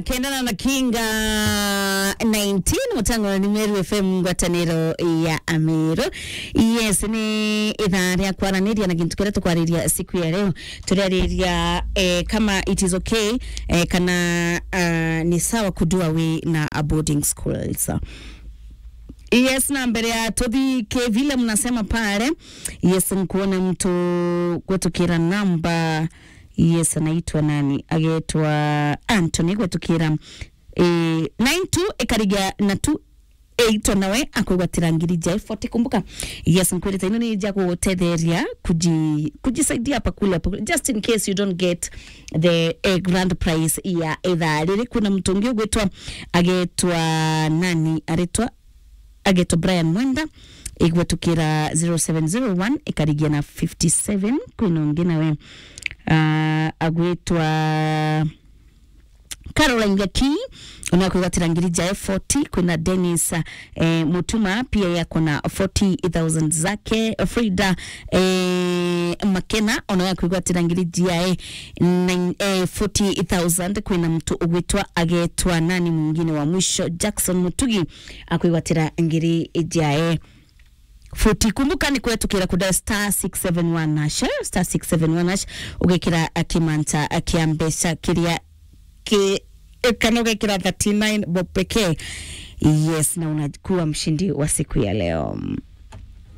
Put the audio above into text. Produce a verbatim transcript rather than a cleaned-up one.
Kendana na kinga nineteen, mutango ni Meru F M, ngwataniro ya Ameru. Yes, ni ithaa ria kwaraniria na gintu kiria tukwariria siku ya leo. Turariria, eh, kama it is okay, eh, kana, ah, ni sawa kudua wi na a boarding schools. Yes, na mbere ya tuthike vile mnasema pale, yes, nkuona mtu gwetukira namba. Yes, anaitwa nani? Agetwa Anthony gwetukira, eh, nine two ikarigia na two eight, nawe akwigwatira ngiri ja forty. Kumbuka, yes, nkwirite ino ni ja gutetheria kuji-, kujisaidia hapa kule, hapa kule, just in case you don't get the, eh, grand prize ya ithaa riri. Kuna mtu ungi ugwitwa, agetwa nani? Aritwa, agetwa Brian Mwenda, igwetukira zero seven zero one ikarigia na fifty seven. Kwina ungi nawe, ah, agwitwa Caroline Gaki, ona kwigwatira ngiri ja forty. Kwina Dennis, eh, Mutuma, pia yako na forty thousand zake. Frida, eh, Makena, ona ya kwigwatira ngiri ja, eh, nine, eh, forty thousand. Kwina mtu ugwitwa, agetwa nani mwingine wa mwisho, Jackson Mutugi, akwigwatira ngiri ja, eh, forty. Kumbuka ni kwetukira kuda star six seven one hash, eh, star six seven one hash, ugekira, eh, kimanta, eh, kia mbeca kiria ki-, eh, kana ugekira thirty-nine bob pekee. Yes, na unakuwa mshindi wa siku ya leo.